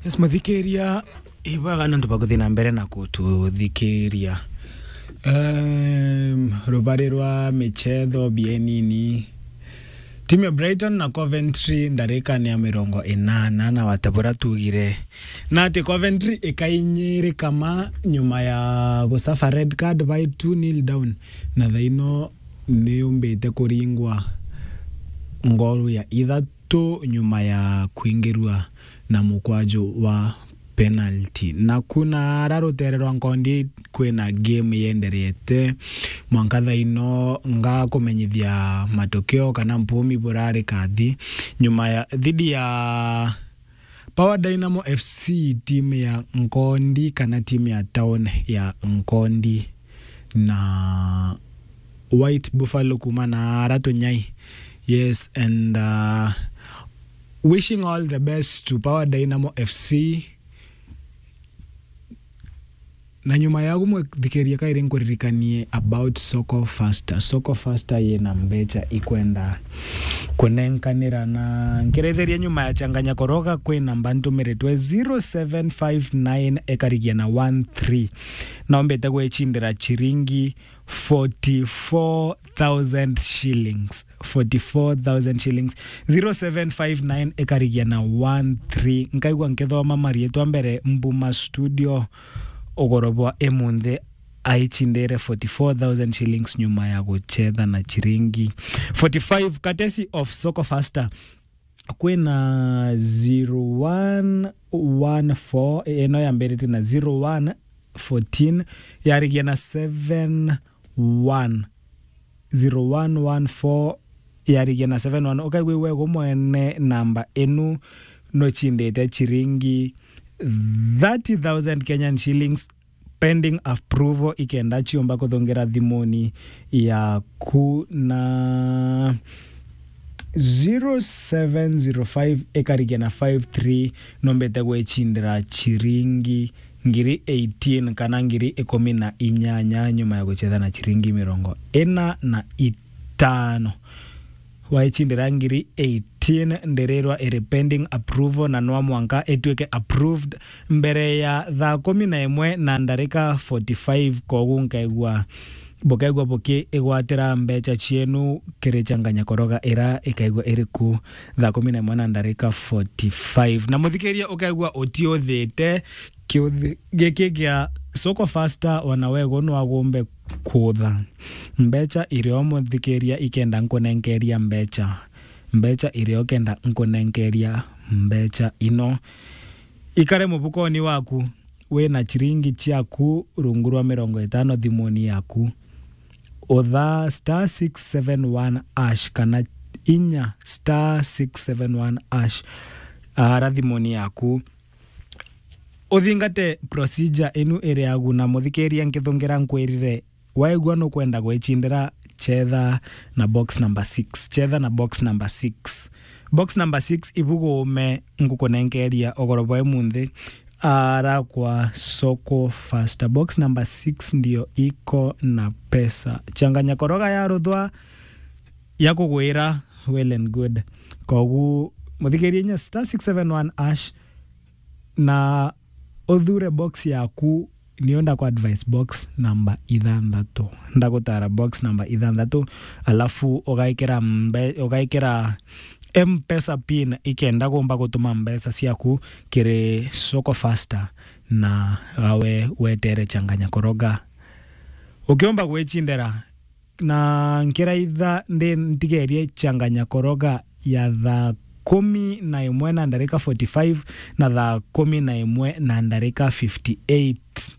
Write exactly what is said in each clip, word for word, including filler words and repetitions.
Yes, muthikiria, ibwega nontu bwa kuthi na mbere na kututhikiria. Em, rubari rwa michetho bienini. Timu ya Brighton na Coventry ndarikani ya mirongo inana na wata bura tugire. Na ati Coventry ikainyirika ma nyuma ya gusuffer red card by two nil down. Na thaino niyumbite kuringwa ngoru ya ithatu tu nyuma ya kuingirua na mukwaju wa penalty. Na kuna ara rutere rwa Nkondi kwina game yenderete mwanka thaino nga kumenyithia matokeo kana mpumi burari kathi nyuma ya thidi ya Power Dynamo F C, timu ya Nkondi kana timu ya town ya Nkondi na White Buffalo kuma na ara tunyai. Yes, and uh, wishing all the best to Power Dynamo F C. Na nyuma yagu mwithikiria kairi nkuririkanie about Soko Faster. Soko Faster yina mbecha ikwenda kunenkanira na nkirethiria nyuma ya changanya koroga kwina namba ntumiritwe zero seven five nine ikarigia na one three. Nombite gwicindira chiringi forty-four thousand shillings. Forty-four thousand shillings. Zero seven five nine ikarigia na one three. Nkaigua nkithoma marietwa mbere Mbuma Studio ugoro bwa imunthi aichindire forty-four thousand shillings nyuma ya guchetha na chiringi forty-five courtesy of Soko Faster. Kwina zero one one four, ino yambirite na zero one fourteen, yarigia na seven one. Zero one one four yarigia na seven one. Ukaigua iwe gu mwene namba inu nuchindite chiringi thirty thousand Kenyan shillings pending approval, ikenda chiumba kuthungira thimuni yaku na zero seven zero five ikarigia na five three. Nombete gwechindira chiringi ngiri eighteen kana ngiri ikumi na inyanya nyuma ya guchetha na chiringi mirongo ina na itano. Waichindira ngiri eighteen, ndirirwa iri pending approval na nwa mwanka ituike approved mbere ya thaa kumi na imwe na ndarika forty-five. Kogu nkaigua, bukaigua bukiigwatira mbecha chienu kiri changanya koroga ira ikaigua iri ku thaa kumi na imwe na ndarika forty-five. Na muthikiria ukaigua utiuthite kiuthi giki gia Soko Faster, ona wego nwagumbe kutha mbecha irio muthikiria ikenda nkunenkeria mbecha. Mbecha irio kenda nkunenkeria mbecha ino. Ikare mubukoni waku, wina chiringi chiaku rungu rwa mirongo itano thimuni yaku. Utha star six seven one hash kana inya star six seven one hash ara thimuni yaku. Uthingate procedure inu iri agu na muthikiria nkithungira nkwirire, waigua nukwenda gwechindira, chetha na box number six. Chetha na box number six. Box number six ibugume ngukunenkeria ugoro bwa imunthi ara kwa Soko Faster. Box number six ndio iko na pesa. Changanya koroga ya ruthwa ya kugwira well and good. Kogu muthikiria inya star six seven one hash na uthure box yaku. Nio ndaku advice box namba ithanthatu. Ndagutara box namba ithanthatu, alafu ugaikira mbe-, ugaikira M-Pesa pin ikenda gumba gutuma mbeca ciaku kiri Soko Faster na gawe wetere changanya koroga. Ukiumba gwicindira na nkiraitha ndi ntigerie changanya koroga ya thaa kumi na imwe na ndarika forty-five na thaa kumi na imwe na ndarika fifty-eight,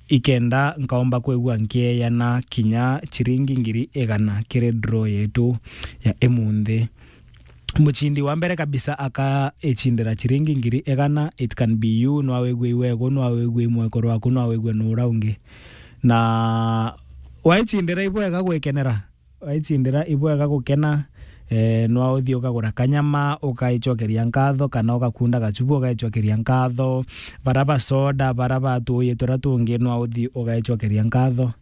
ikenda nkaumba kwigua nkieana kinya chiringi ngiri igana kiri draw yetu ya imunthi. Muchindi wa mbere kabisa aka ichindira chiringi ngiri igana. It can be you, no awigue iwego, no awigue imwekoro waku, no awigue nura ungi. Na waichindira ibwega gwikenera, waichindira ibwega gukena, eh, no uthi ukagura kanyama, ukaichokeria nkatho, kana ugakunda gachubu, ukaichokeria nkatho, bara ba soda, bara ba tuuyi turia tungi, no uthi ukaichokeria nkatho.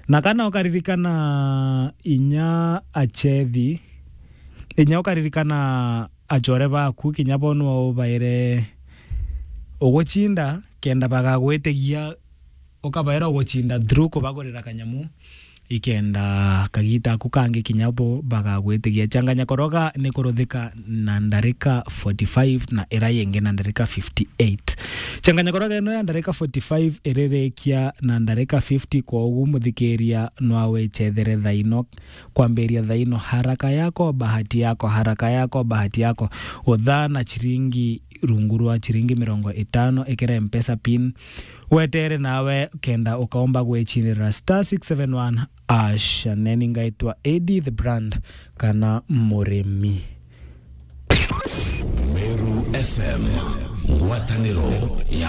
Na kana ukaririkana inya achethi, inya ukaririkana achore baku, kinya bo nwa ubaire ugucinda kenda bagagwitigia, ukabaira ugucinda through kubagurira kanyamu, ikenda kagita aku kangi kinya bo bagagwitigia. Changanya koroga ni kuruthika na ndarika forty-five na ira yingi na ndarika fifty-eight. Changanya koroga ino ya ndarika forty-five iririkia na ndarika fifty, kwogu muthikiria nwa wichethere thaino, kwambiria thaino, haraka yako bahati yako, haraka yako bahati yako. Uthaa na chiringi rungu rwa chiringi mirongo itano, ikira Mpesa pin, wetere nawe kenda ukaomba gwichinira star six seven one ash. Neni ngaitwa A D the brand kana Murimi. Meru F M, ngwatanĩro ya